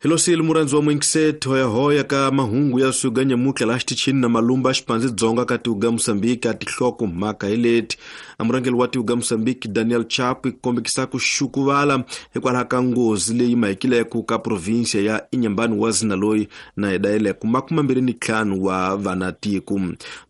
Hilosile murhandzi wa mwingiseti hoyahoya ka mahungu ya suga nyamutlha laha xitichini na malumba xipandzi dzonga ka tihuga Mosambiki a tinhloko mhaka hi leti. A murhangeri wa tihuga Mosambiki Daniel Chapo kombekisa ku xukuvala hikwalaho ka nghozi leyi mahekileke ka provinsia ya Inhambane wa zina loyi na hidayeleke 25 wa vanatiko.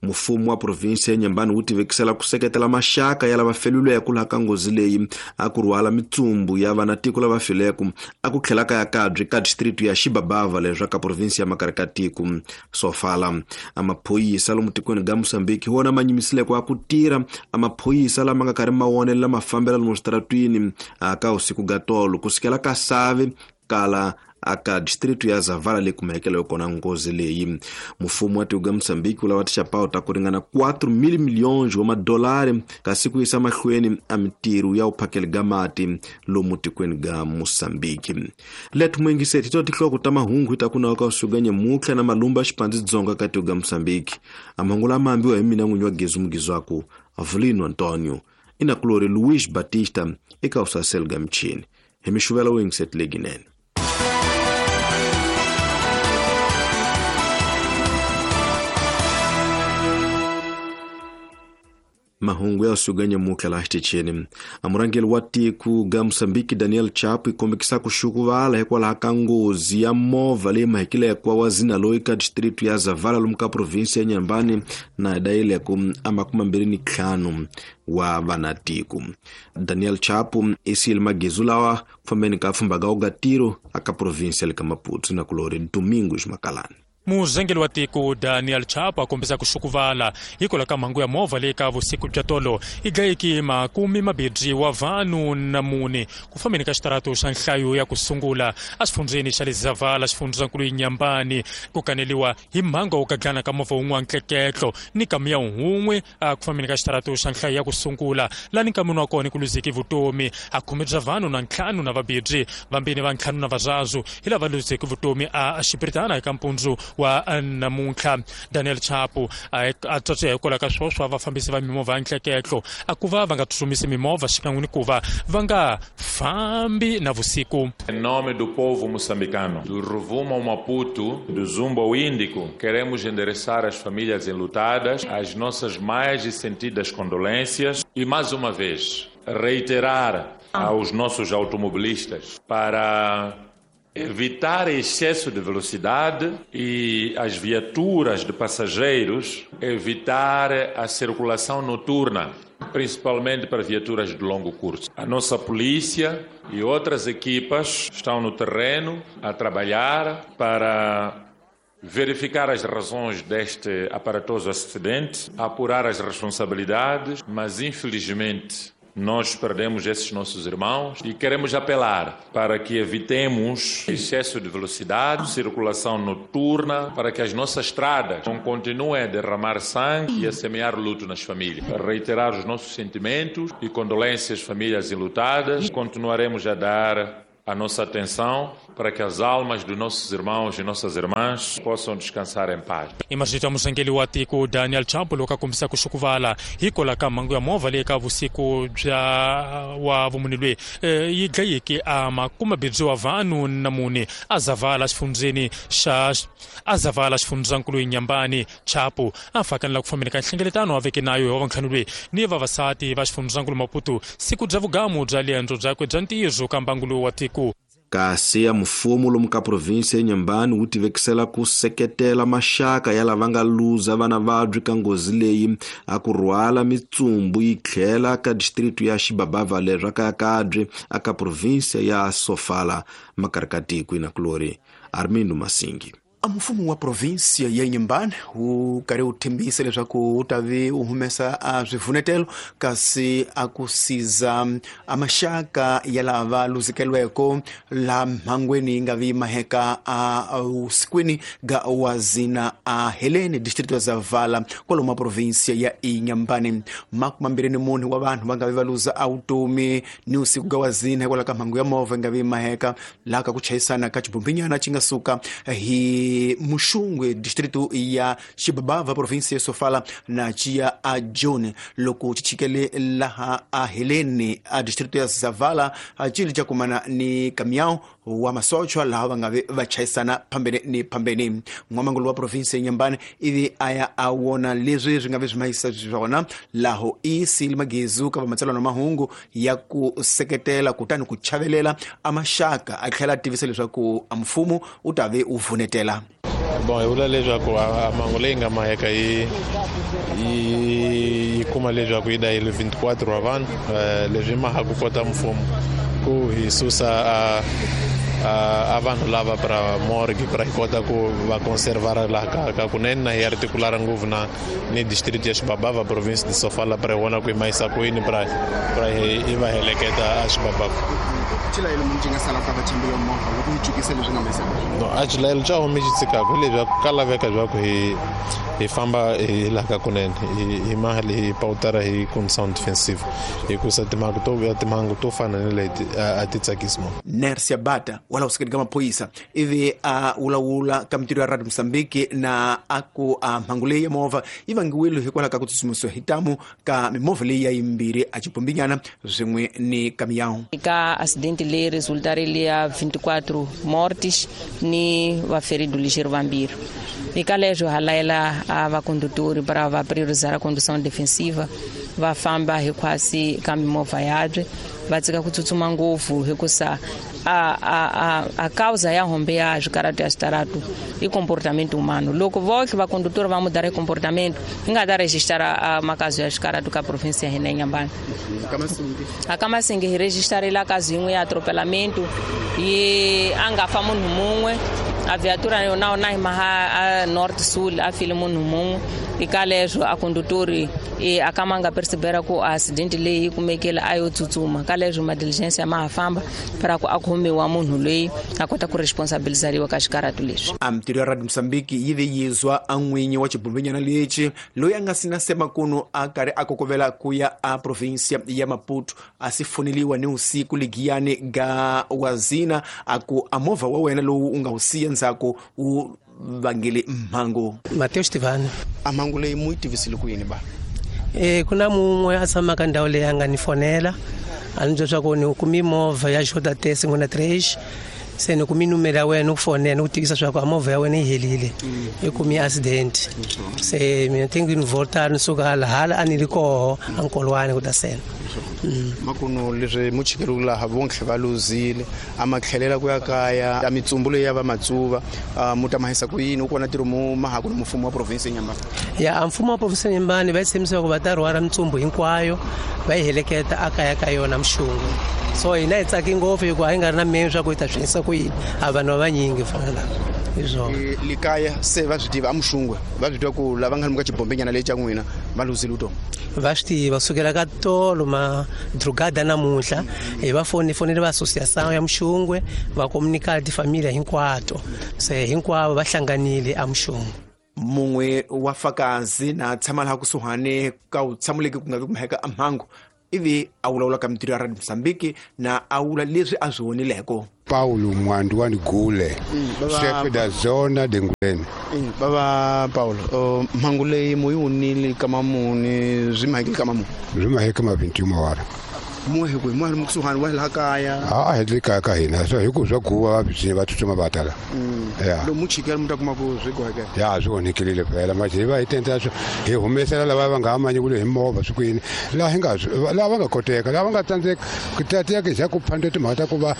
Mfumo wa provinsia ya Inhambane wu tivekisela ku seketela maxaka ya lava feluleke laha ka nghozi leyi a ku rhwala mitsumbu ya vanatiko lava fileke a ku tlhela ka ya kabye ka district ya Xibabava leswa ka provinsi ya Makare ka tiko Sofala. A maphorisa lomu tikweni ga Mozambique hi wona ma nyimisileke a ku tirha a maphorisa lama nga karhi ma wonelela mafambelo lomu switaratwini ka usiku ga tolo ku sukela ka Save kala aka district ya Zavala leyi kumekeke kona nghozi leyi. Mfumo wa tiko ga Mozambique wu lava tixapawu ta ku ringana 4,000 milhões wa madolari kasi ku yisa mahlweni a mitirho ya uphakeli ga mati lomu tikweni ga Mozambique. Lethu mwingiseti to tinhloko ta mahungu hi ta ku nawu ka usuka nyamutlha na malumba xipandzi dzonga ka tiko ga Mozambique. A mahungu lama ambiwa hi mina n'winyi wa Gezu Mugizwaku Avelino Antonio inakulori Luis Batista eka usasel ga michini. Hi mixuvela wingiseti leginene. Mahungu ya suga nyamutlha laha xitichini. A murhangeri wa tiko ga Mozambique Daniel Chapo kombekisa ku xukuvala hikwalaho ka nghozi ya movha leyi mahekileke wa zina loyi ka district ya Zavala lomu ka provinsi ya Inhambane na hidayeleke a 25 wa vanatiko. Daniel Chapo i siyile magezu lawa ku fambeni ka pfhumba ga ugatiro aka provinsi ya le ka Maputo na kulori Domingos Makalani. Murhangeri wa tiko Daniel Chapo a kombisa ku xukuvala hikwalaho ka mhangu ya movha leyi ka vusiku bya tolo yi dlayeke 24 wa vanhu na mune ku fambeni ka xitarato xa nhlayo ya ku sungula exifundzheni xa le Zavala xifundzankulu Inhambane ku kaneliwa hi mhangu wo gaglana ka movha wun'we wa ntleketlo ni kamiya wun'we ku fambeni ka xitarato xa nhlayo ya ku sungula lani nkamini wa kona ku luzeke vutomi a khume bya vanhu na ntlhanu na vabirhi vambirhi va ntlhanu na vararu hi lava luzeke vutomi a xipiritana eka mpundzu wa namuntlha. Daniel Chapo a tswatswiya hikwalaho ka swoswa vafambisi va mimovha ya ntleketlo a ku va va nga tsutsumisi mimovha xikan'we ni ku va va nga fambi na vusiku. Em nome do povo moçambicano, do Rovuma ao Maputo, do Zumbo ao Índico, queremos endereçar às famílias enlutadas as nossas mais sentidas condolências e, mais uma vez, reiterar aos nossos automobilistas para evitar excesso de velocidade e as viaturas de passageiros, evitar a circulação noturna, principalmente para viaturas de longo curso. A nossa polícia e outras equipas estão no terreno a trabalhar para verificar as razões deste aparatoso acidente, apurar as responsabilidades, mas infelizmente nós perdemos esses nossos irmãos e queremos apelar para que evitemos excesso de velocidade, circulação noturna, para que as nossas estradas não continuem a derramar sangue e a semear luto nas famílias. Reiterar os nossos sentimentos e condolências às famílias enlutadas. Continuaremos a dar a nossa atenção para que as almas dos nossos irmãos e nossas irmãs possam descansar em paz. Imagita murhangeri wa tiko Daniel Chapo loko a kombisa ku xukuvala hikwalaho ka mhangu ya movha leyi ka vusiku bya wa vumune loyi yi dlayeke a 24 wa vanhu na mune a Zavala xifundzheni xa a Zavala xifundzankulu Inhambane. Chapo a fakanela ku fambeni ka nhlengeletano a veke nayo hi wa vantlhanu loyi ni vavasati va xifundzankulu Maputo siku bya vugamu bya liendzo byakwe bya ntirho ka mbangu lowu wa tiko. Kasi ya mfumo lomu ka provinsi ya Inhambane wu tivekisela ku seketela maxaka ya lava nga luza vana vabyi ka nghozi leyi a ku rhwala mitsumbu yi tlhela ka district ya Xibabava leswa ka Kabye aka provinsi ya Sofala makari ka tiko inakulori Armindo Masingi. Mfumo wa provinsia ya Inhambane wu karhi wu tshembisa leswaku wu ta vi wu humesa a swivunetelo kasi a ku siza a maxaka ya lava luzekeriweke laha mhangweni yi nga vi maheka a usikwini ga wazina a Helene district ya Zavala kwalomu wa provinsia ya Inhambane. 24 wa vanhu va nga vi va luza a vutomi ni usiku ga wazina hikwalaho ka mhangu ya movha yi nga vi maheka laha ka ku chayisana ka xibombinyana xi nga suka hi e Muxungwe distrito ya Xibabava província ya Sofala na Chia a June loko chichikele laha a Helene a distrito ya Zavala a chili cha kumana ni kamiao wa masochwa laha va nga va chayisana phambene ni phambene. N'wamangulu wa province ya Nyambane ivi aya a wona leswi swi nga vi swi mahisa swona laho i sili magezu ka matsalwa na mahungu ya ku seketela kutani ku chavelela a maxaka a tlhela a tivisa leswaku a mfumo u ta ve u vunetela. Bon, hi vula leswaku a mhangu leyi nga maheka yi kuma leswaku yi dayile 24 wa vanhu leswi ma ha ku kota mfumo ku hi susa a vanhu lava pra morgue pra hi kota ku va conservar laha ka kunene na hi articular ngopfu na ni district ya Xibabava province de Sofala pra hi vona ku hi mahisa kwini pra hi va heleketa a Xibabava. Xilayelo munhu xi nga sala ka vachimbile movha loko yi jukisa leswi nga mahisa no a xilayelo xa homi xi tshikaka hi leswaku ka laveka leswaku hi famba hi laha ka kunene hi mali hi pawutara hi condition defensive hikusa timhangu to fana ni leti a ti tsakisi munhu. Nersia Bata wala usikeni ka maphorisa ivi a vulavula ka mintirho ya Radio Mozambique na a ku a mhangu leyi ya movha yi vangiwile hikwalaho ka ku tsutsumisiwa hi tamu ka mimovha leyi ya yimbirhi a xibombinyana swin'we ni kamiyawu. Ka acidente leyi resultarile ya 24 mortes ni vaferido ligeiro vambirhi. Eka leswo ha layela a vakondutori para va priorizar a condução defensiva va famba hinkwasi ka mimovha yabye va tshika ku tsutsuma ngopfu hikusa a causa ya hombe ya swikaratu ya switaratu i comportamento humano. Loko voxe vakondutori va mudara comportamento hi nga ta registara makazi ya swikaratu ka province ya hina ya Nyambane. A Masingi hi registarile kazi yin'we ya atropelamento yi a nga fa munhu mun'we a viatura yona na hi maha a north sul a file munhu mun'we eka leswo a condutori a ka ma nga percebera ku accident leyi yi kumekile a yo tsutsuma ka leswo ma diligence ya ma ha famba para ku a khomiwa munhu loyi a kota ku responsabilizariwa ka xikaratu leswi. A mintirho ya Radio Mozambique yi ve yizwa a n'winyi wa xibombinyana lexi loyi a nga sina semakunu a karhi a kokovela ku ya a provinsia ya Maputo a si foneliwa ni usiku ligiyani ga wazina a ku a movha wa wena lowu u nga wu siya ndzhaku wu vangele mhangu. Mateus Tivani. A mhangu leyi mu yi tivisile ku yini ba? Ku na mun'we a tshamaka ndhawu leyi a nga ni fonela a ni byela swa ku ni kumi movha ya Jota T 53 se ni kumi numero ya wena ku fonela ni ku tivisa swa ku a movha ya wena yi helile yi kumi accident se mina ti ni volta ni suka hala hala a ni ri koho a nkolwani ku ta sena. Makuno leswi mu chikeriwe laha vontlhe va luzile a ma tlhelela ku ya kaya a mitsumbu leyi ya va matsuva mu ta mahisa ku yini u kona ntirho mu mahaku ni mfumo wa province ya Nyambane. Ya a mfumo wa province ya Nyambane va tshembisa ku va ta rhwala mitsumbu hinkwayo va yi heleketa a kaya ka yona Mxungwe. So hina hi tsaki ngopfu hikuva a yi nga ri na menu swa ku yi ta swi endlisa ku yini a vanhu va vanyingi fana lava hi swona. Likaya se va swi tiva a Muxungwe va swi tiva ku lava nga ni ka xibombenyana lexi xa n'wina va luzile vutomi. Va swi tiva sukela ka tolo ma drugada namuntlha hi va fonele va association ya Muxungwe va communicate tifamiliya hinkwato se hinkwavo va hlanganile a Muxungwe. Mun'we wa fakazi na tshama laha kusuhani ka wu tshamuleki ku nga vi ku mheka a mhangu ivi a vulavula ka mintirho ya Radio Mozambique na a vula leswi a swi vonileko. Paulo Mwandu wa Ngule, chef da zona de Nguleni. Baba Paulo, mhangu leyi mu yi wunile ka mamuni swi mahekile ka mamuni? Swi maheke ma 21 wara. Muhe ku muhe mukusuhani wa laha kaya. A hi le kaya ka hina so hi ku swa guva va va tsutsuma va tala. Ya. Lomu chikela mu ta kuma ku swi gohekela. Ya swi onhekile phela manje hi va hi tendla swo hi humesela lava va nga amanyi ku le hi movha swi kwini laha hi nga lava nga koteka lava nga tsandzeka ku tateka xa ku phanda timhaka ta ku va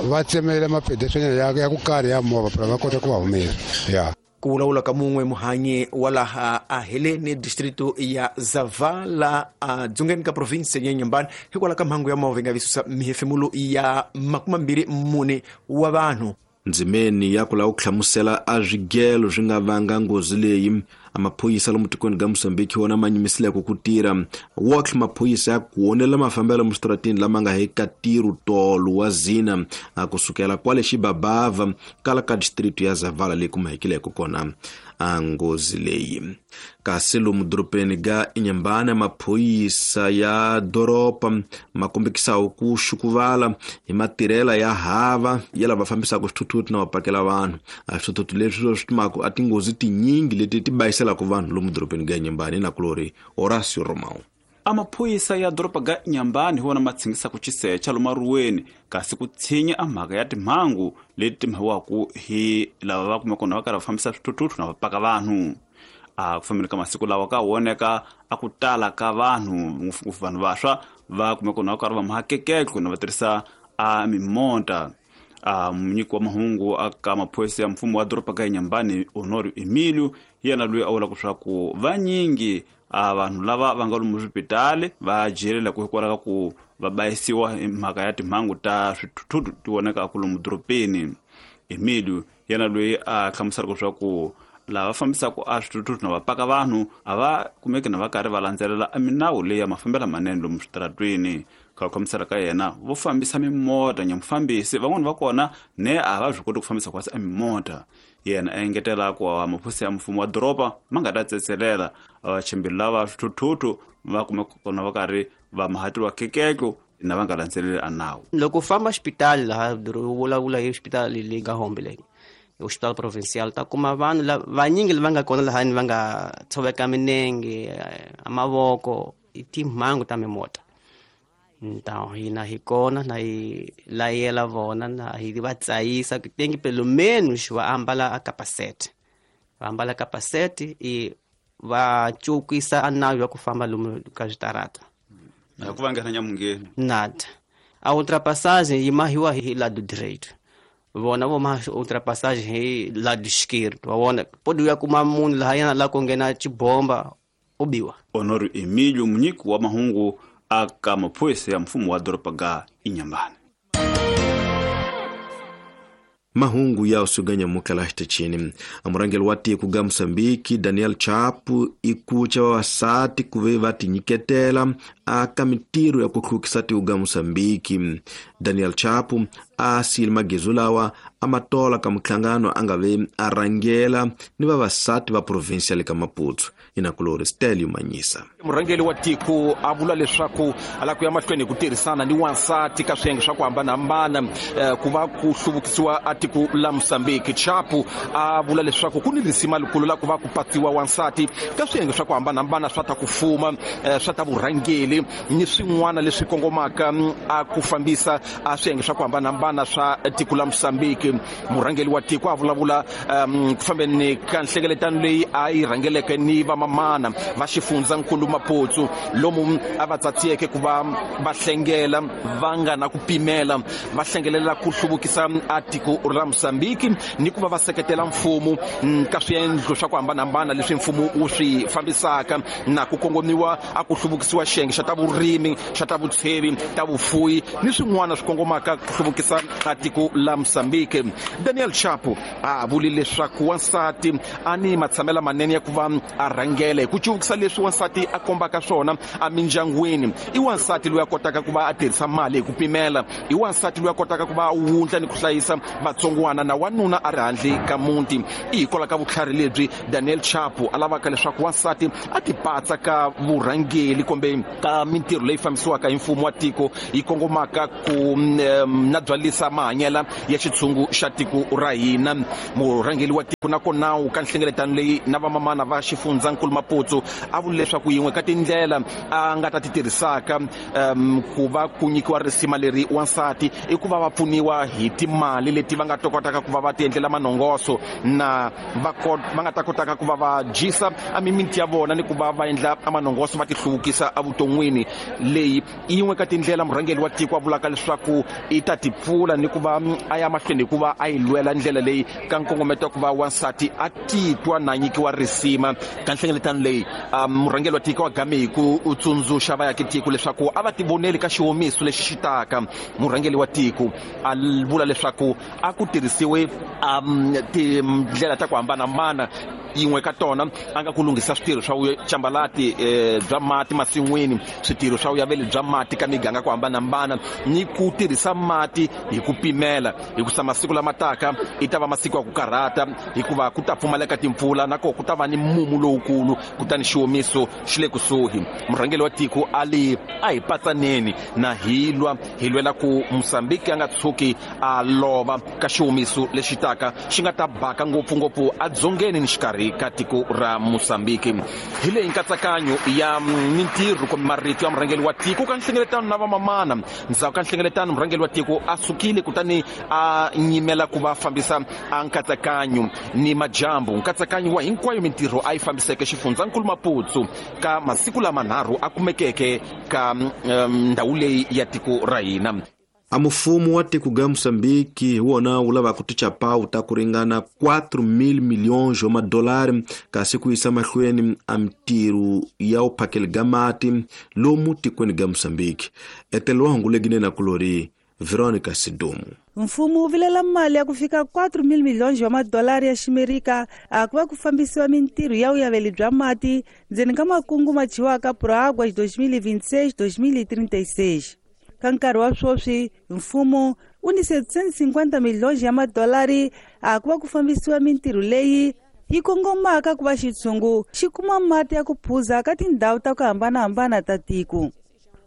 va tsemela mapedesanyana ya ku karhi ya movha phela va kota ku va humesa. Ya. Ku vulavula ka mun'we muhanyi wa laha a Helene distrito ya Zavala a dzongeni ka province ya Nyambane hikwalaho ka mhangu ya movha yi nga vi susa mihefemulo ya 24 wa vanhu. Ndzimeni ya ku lava ku hlamusela a swigelo swi nga vanga nghozi leyi a maphorisa lomu tikweni ka Mozambique wona ma nyimisileko ku tirha wotlhe maphorisa ya ku onela mafambelo musitratini lama nga hi ka ntirho tolo wa zina a kusukela kwale Xibabava kala ka distrito ya Zavala leyi kumahekileko kona. a nghozi leyi. Kasi lomu dorobeni ga Inhambane maphorisa ya doroba ma kombekisaho ku xukuvala hi matirhela ya hava ya lava fambisaka swithuthuthu na va pakela vanhu. A swithuthuthu leswi swi timaka a tinghozi tinyingi leti ti bayiselaka vanhu lomu dorobeni ga Inhambane na kulori Horacio Romão. Amaphorisa ya doroba ga Inhambane hi wona ma tshingisaka xisecha lomu aruweni kasi ku tshinya a mhaka ya timhangu leti timhiwaku hi lava va kumeka na va karhi va fambisa swithuthuthu na va paka vanhu. A ku fambeni ka masiku lawa ka voneka a ku tala ka vanhu ngopfungopfu vanhu vantshwa va kumeka na va karhi va mahakekeko na va tirhisa a mimonta. A munyiki wa mahungu aka maphorisa ya mfumo wa doroba ga Inhambane Honório Emílio yena loyi a vulaka leswaku vanyingi a vanhu lava va nga lomu swipitali va jelela ku hikwalaho ka ku va bayisiwa hi mhaka ya timhangu ta swithuthuthu ti vonekaka lomu dorobeni. Emílio yena loyi a hlamuselaka leswaku lava fambisaka a swithuthuthu na va paka vanhu a va kumeki na va karhi va landzelela a minawu leyi ya mafambelo manene lomu switaratweni. Ka ku hlamusela ka yena vo fambisa mimota nyamufambisi van'wani va kona ne a va swi koti ku fambisa kwasi a mimota. Yena a engetela ku maphorisa ya mfumo wa doroba ma nga ta tsetselela vachimbiri lava swithuthuthu va kumeka kona va karhi va mahatiriwa kekeko na va nga landzeleli a nawu. Loko u famba xipitali laha vulavula hi xipitali leyi nga Hombe leyi hospital provincial ta kuma vanhu vanyingi lava nga kona lahani va nga tshoveka minenge a mavoko i timhangu ta mimota. Então hina hi kona na hi layela vona na hi va tsayisa ku tengi pelo menos va ambala a capacete. Va ambala capacete e va cukisa a nawu ya ku famba lomu ka switarata. Na ku va nghena nyamungeni. Nada. A ultrapassagem yi mahiwa hi lado direito. Vona vo ma ultrapassagem hi lado esquerdo. Wa vona pode uya kuma munhu lahayana la ku nghena xibomba u biwa. Honório Emílio munyiki wa mahungu aka maphorisa ya mfumo wa doroba ga Inhambane. Mahungu ya usuganya mukala xitichini. Murangeli wa tiko ga Mozambique Daniel Chapo ikucha vavasati kuve va tinyiketela aka mintirho ya ku hlukisa tiko ga Mozambique. Daniel Chapo a siyile magezu lawa a matola ka muhlangano a nga ve a rhangela ni vavasati va provinsia le ka Maputo. Inakulori Stelio Manyisa. Murhangeri wa tiko a vula leswaku a lava ku ya mahlweni hi ku tirhisana ni wansati ka swiyenge swa ku hambanahambana ku va ku hluvukisiwa a tiko la Mozambique. Chapo a vula leswaku ku ni risima likulu la ku va ku patsiwa wansati ka swiyenge swa ku hambanahambana swa ta ku fuma swa ta vurhangeri ni swin'wana leswi kongomaka a ku fambisa a swiyenge swa ku hambanahambana swa tiko la Mozambique. Murhangeri wa tiko a vulavula ku fambeni ka nhlengeletano leyi a yi rhangeleke ni vamamana va xifundzankulu Maputo lomu a va tsatsiyeke ku va va hlengela va nga na ku pimela va hlengelela ku hluvukisa a tiko ra Mozambique ni ku va va seketela mfumo ka swiendlo swa ku hambanahambana leswi mfumo wu swi fambisaka na ku kongomiwa a ku hluvukisiwa xiyenge xa ta vurimi xa ta vutshevi ta vufuwi ni swin'wana swi kongomaka ku hluvukisa a tiko la Mozambique. Daniel Chapo a vuli leswaku wansati a ni matshamela manene ya ku va a rhangela hi ku cuvukisa leswi wansati a kombaka swona emindyangwini. I wansati loyi a kotaka ku va a tirhisa mali hi ku pimela, i wansati loyi a kotaka ku va a wundla ni ku hlayisa vatsongwana na wanuna a ri handle ka muti. I hikwalaho ka vutlhari lebyi Daniel Chapo a lavaka leswaku wansati a tipatsa ka vurhangeri kumbe ka mintirho leyi fambisiwaka hi mfumo wa tiko yi kongomaka ku na byalisa mahanyela ya xitshungu xa tiko ra hina. Murhangeri wa tiko nakona ka nhlengeletano leyi na vamamana va xifundzankulu Maputo a vula leswaku yin'we ka tindlela a nga ta ti tirhisaka ku va ku nyikiwa risima leri wansati i ku va va pfuniwa hi timali leti va nga ta kotaka ku va va ti endlela manongoso na va nga ta kotaka ku va va dyisa a mimiti ya vona ni ku va va endla manongoso va ti hluvukisa evuton'wini. Leyi i yin'we ka tindlela murhangeri wa tiko a vulaka leswaku i ta ti pfula ni ku va a ya mahlweni hi ku va a yi lwela ndlela leyi ka nkongometo wa ku va wansati a titwa na nyikiwa risima. Ka nhlengeletano leyi murhangeri wa tiko wa game hi ku tsundzuxa vaakatiko leswaku a va tivoneli ka xihomiso lexi xi taka. Murhangeri wa tiko a vula leswaku a ku tirhisiwe tindlela ta ku hambanahambana yin'we ka tona a nga ku lunghisa switirho swa vucambalati bya mati masin'wini, switirho swa vuyaveli bya mati ka miganga ku hambanahambana ni ku tirhisa mati hi ku pimela, hikusa masiku lama taka i ta va masiku ya ku karhata, hikuva ku ta pfumaleka timpfula na koho ku ta va ni mumu lowukulu, kutani xiwomiso xi le kusuhi. Murhangeri wa tiko a li a hi patsaneni na hi lwa, hi lwela ku Mosambiki a nga tshuki a lova ka xiwomiso lexi taka xi nga ta baka ngopfungopfu edzongeni ni xikarhi ka tiko ra Mosambiki. Hi leyi nkatsakanyo ya mintirho kumbe marito ya murhangeri wa tiko ka nhlengeletano na vamamana. Ndzhaku ka nhlengeletano murhangeri wa tiko a sukile kutani a nyimela ku va fambisa a nkatsakanyo ni majambu, nkatsakanyo wa hinkwayo mintirho a yi fambiseke xifundzankulu Maputo ka masiku lamanharhu a kumekeke ka ndhawu leyi ya tiko ra hina. A mufumo wa tiko ga Mosambiki hi wona wu lavaka tichapawu ta ku ringana 4,000 milhões wa madolari kasi ku yisa mahlweni a mintirho ya vuphakeli ga mati lomu tikweni ga Mosambiki. Etelo wa hungu leginene na kulori Veronica Sidumu. Mfumo wu vilela mali ya ku fika 4,000 milhões wa madolari ya ximerika a ku va ku fambisiwa mintirho ya vuyaveli bya mati ndzeni ka makungu ma dyiwaka Proáguas 2026-2036. Ka nkarhi wa sweswi mfumo wu ni 750 milhões ya madolari a ku va ku fambisiwa mintirho leyi yi kongomaka ku va xitshungu xi kuma mati ya ku phuza ka tindhawu ta ku hambanahambana ta tiko.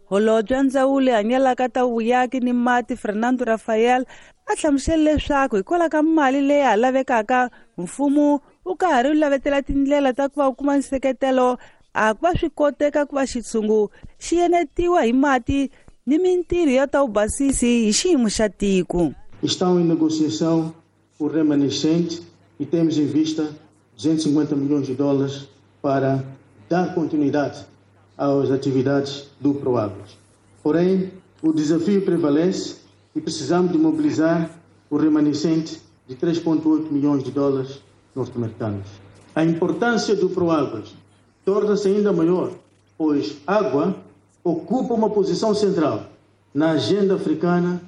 Holobye wa ndzawulo hanyelaka ta vuyaki ni mati Fernando Rafael a hlamusele leswaku hikwalaho ka mali leyi ha lavekaka mfumo wu ka ha ri wu lavetela tindlela ta ku va wu kuma nseketelo a ku va swi koteka ku va xitshungu xi enetiwa hi mati ni mintirho ya ta vubasisi hi xiyimo xa tiko. Estão em negociação o remanescente e temos em vista 250 milhões de dólares para dar continuidade às atividades do Proáguas. Porém, o desafio prevalece e precisamos de mobilizar o remanescente de 3,8 milhões de dólares norte-americanos. A importância do Proáguas torna-se ainda maior, pois água ocupa uma posição central na agenda africana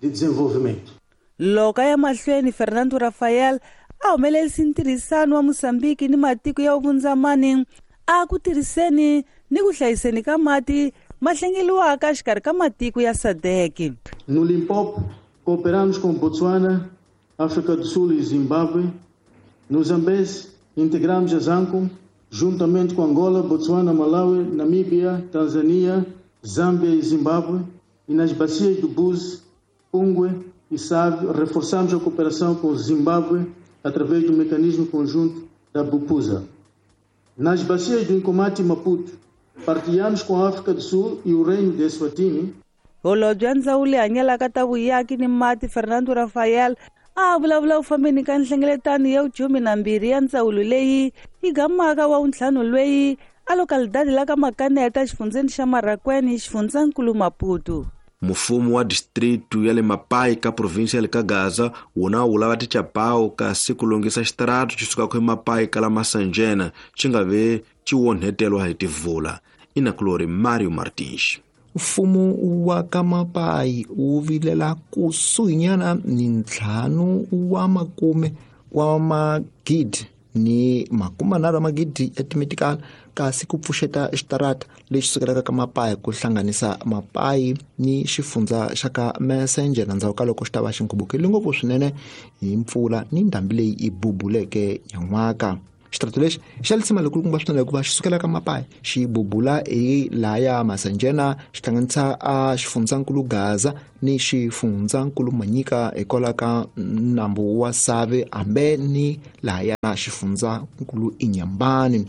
de desenvolvimento. Loko ya mahlweni Fernando Rafael a humelerisa ntirhisano wa Mosambiki ni matiko ya vundzamani a ku tirhiseni ni ku hlayiseni ka mati ma hlengeliwaka exikarhi ka matiko ya SADC. No Limpopo, cooperamos com Botswana, África do Sul e Zimbábue. No Zambeze, integramos a ZANCOM, juntamente com Angola, Botswana, Malawi, Namíbia, Tanzânia, Zâmbia e Zimbábue. E nas bacias do Búzi, Pungwe e Save, reforçamos a cooperação com o Zimbábue através do mecanismo conjunto da BUPUSA. Nas bacias do Inkomati e Maputo, partilhamos com a África do Sul e o Reino de Eswatini. Holobye wa ndzawulo hanyelaka ta vuyaki ni mati Fernando Rafael a vulavula u fambeni ka nhlengeletano ya 12 ya ndzawulo leyi yi gamaka wa wuntlhanu lweyi a lokalidadi la ka Makaneta xifundzeni xa Marracuene xifundzankulu Maputo. Mufumo wa distritu ya le Mapai ka província ya le ka Gaza wona wu lava tichapawu kasi ku lunghisa xitaratu xi sukaka eMapai ka la Masanjena xi nga ve xi onhetelwa hi tivula. Inakulori Mario Martins. Mfumo wa ka Mapai wu vilela kusuhinyana ni 5 wa makume wa magidi ni 30 magidi ya timitikala kasi ku pfuxeta xitarata lexi sukelaka ka Mapai ku hlanganisa Mapai ni xifundza xa ka Messenger ndzhaku ka loko xi ta va xi nkhubukile ngopfu swinene hi mpfula ni ndhambi leyi yi bubuleke nyan'waka. Xitarata lexi xa lisima lekulukumba swinene hikuva xi sukela ka Mapai xi bubula hi laya Masanjena xi hlanganisa a xifundzankulu Gaza ni xifundzankulu Manyika hikwalaho ka nambu wa Save hambe ni lahaya xifundzankulu Inyambani.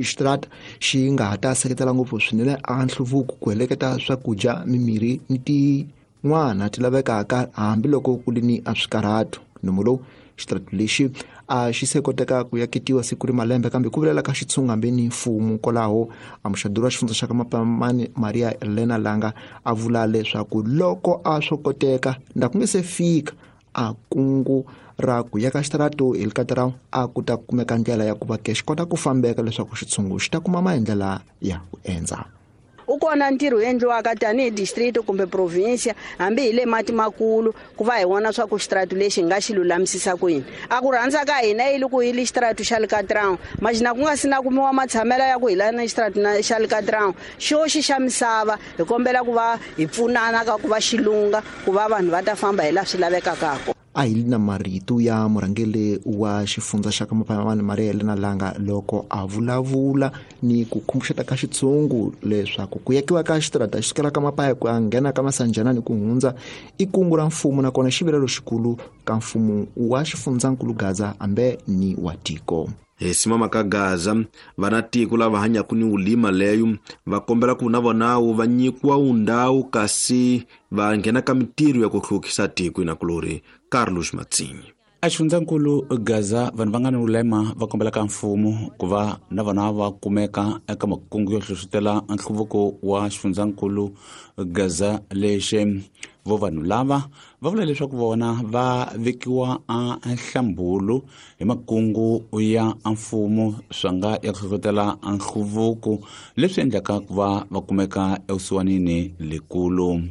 Xitarata xi nga ha ta seketela ngopfu swinene a nhluvuko ku heleketa swakudya, mimirhi ni tin'wana ti lavekaka hambiloko ku ri ni a swikarhato. Nomo lowu xitarata lexi a xi se koteka ku yaketiwa siku ri malembe kambe ku vilela ka xitshungu hambi ni mfumo kwalaho. Amuxaduri wa xifundza xa ka Mapamani Maria Elena Langa a vula leswaku loko a swo koteka nda ku nge se fika a kungu ra ku yaka xitarata hi likatara a ku ta kumeka ndlela ya ku va ke xi kota ku fambeka leswaku xitshungu xi ta kuma maendlela ya ku endza. U kona ntirho wu endliwaka tanihi district kumbe provinsia hambi hi le mati makulu ku va hi vona swa ku xitaratu lexi hi nga xi lulamisisa kwini. A ku rhandza ka hina yi le ku yi le xitaratu xa le Katrão, maxina ku nga si na kumiwa matshamelo ya ku hi la na xitaratu xa le Katrão xoxi xa misava, hi kombela ku va hi pfunana ka ku va xilunga ku va vanhu va ta famba hi laha swi lavekaka kona. A hi na marito ya murhangeri wa xifundza xa ka Mapayamani Maria Helena Langa loko a vulavula ni ku khumbuxeta ka xitshungu leswaku ku yakiwa ka xitarata xi sukela ka Mapaya ku ya nghena ka Masanjana ni ku hundza i kungu ra mfumo, nakona xivilelo xikulu ka mfumo wa xifundzankulu Gaza hambe ni wa tiko. Hi simama ka Gaza, vana tiko lava hanyaka ni ulima leyo va kombela ku na vona va nyikiwa undhawu kasi va nghena ka mintirho ya ku hluvukisa tiko inakulori. Carlos Matsinyi. A xifundzankulu Gaza, vanhu va nga ni ulema va kombela ka mfumo ku va na vona va kumeka eka makungu yo hlohlotela nhluvuko wa xifundzankulu Gaza lexe. Vo vanhu lava va vula leswaku vona va vekiwa a nhlambulu hi makungu ya mfumo swa nga ya ku hlohlotela nhluvuko leswi endlaka ku va va kumeka evusiwanini lekulu.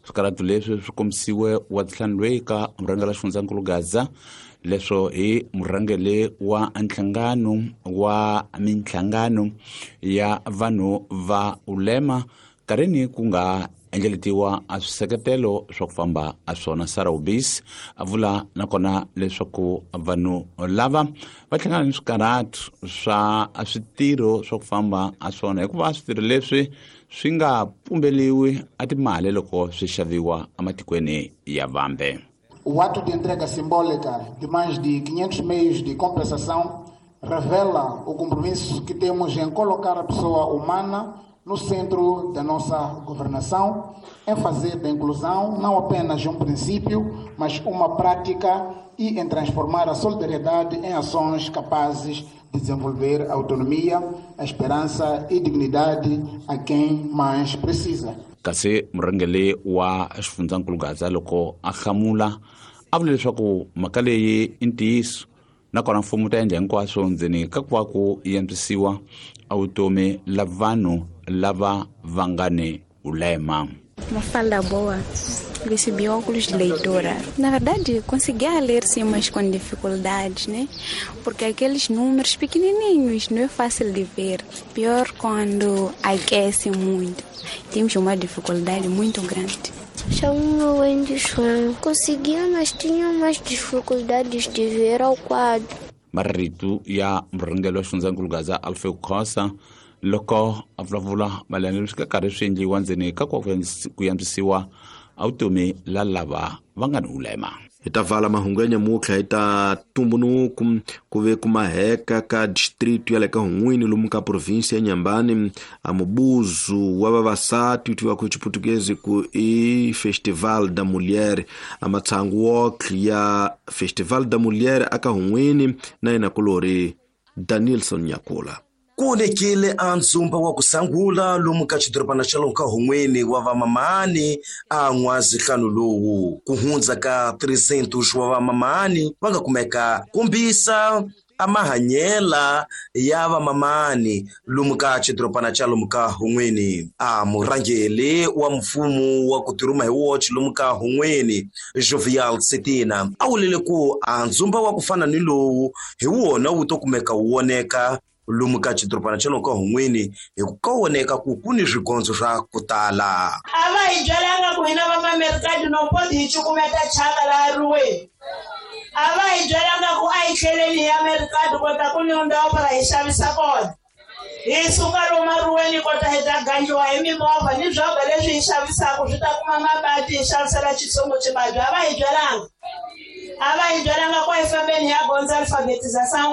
Swikaratu leswi swi kombisiwe wa ntlhanu loyi ka murhangeri wa xifundzankulu Gaza, leswo hi murhangeri wa nhlangano wa minhlangano ya vanhu va ulema karini ku nga endleletiwa a swiseketelo swa ku famba a swona. Sarah Ubis a vula nakona leswaku vanhu lava va hlangana ni swikaratu swa switirho swa ku famba a swona, hikuva switirho leswi swi nga pumbeliwi a timali loko swi xaviwa ematikweni ya vambe. O ato de entrega simbólica de mais de 500 meios de compensação revela o compromisso que temos em colocar a pessoa humana no centro da nossa governação, em fazer da inclusão não apenas um princípio, mas uma prática e em transformar a solidariedade em ações capazes de desenvolver autonomia, a esperança e dignidade a quem mais precisa. Kasi murhangeri wa xifundzankulu Gaza loko a hlamula a vula leswaku mhaka leyi i ntiyiso, nakona mfumo wu ta endla hinkwaswo ndzeni ka ku va ku antswisiwa a vutomi la vanhu lava va nga ni ulema. Mafalda boa, recebi óculos de leitura. Na verdade, conseguia ler sim, mas com dificuldades, né? Porque aqueles números pequenininhos não é fácil de ver. Pior quando aquece muito. Temos uma dificuldade muito grande. Chamo-me Wendy João. Conseguia, mas tinha mais dificuldades de ver ao quadro. Marito ya murhangeri wa xifundzankulu Gaza Alfred Khosa loko a vulavula mayelana leswi ka karhi swi endliwa ndzeni ka ku antswisiwa a vutomi la lava va nga ni ulema. Hi ta vala mahungu ya nyamutlha hi ta tumbunuku ku ve ku maheka ka district ya le ka Hun'wini lomu ka provinsi ya Nyambani a mubuzu wa vavasati tiwa ku Xiputukezi ku i Festival da Mulher, a matshangu wokhe ya Festival da Mulher aka Hun'wini na yena kulori Danielson Nyakula. Ku onekile a ndzumba wa ku sangula lomu ka xidorobana xa lomu ka Hun'wini wa vamamani a n'wazihlanu lowu ku hundza ka 300 wa vamamani va nga kumeka kombisa a mahanyela ya vamamani lomu ka xidorobana xa lomu ka Hun'wini. A murhangeri wa mfumo wa ku tirhuma hi woxe lomu ka Hun'wini Jovial Setina a vulile ku a ndzumba wa ku fana ni lowu hi wona wu to kumeka wu voneka lomu ka xidorobana xa lomu ka Hun'wini hi ku ka voneka ku ku ni swigondzo swa ku tala. A va hi byelanga ku hina va Mamerikati no poti hi cukumeta chaka laha riweni. A va hi byelanga ku a hi tlheleni hi Amerikati kota ku ni ndhawu para hi xavisa kona. Hi suka lomu riweni kota hi ta gangiwa hi mimovha ni swobha leswi hi xavisaka swi ta kuma mabati hi xavisela xitsongo xibabyi. A va hi byelanga. A va hi byelanga ku a hi fambeni hi ya gondza alfabetização.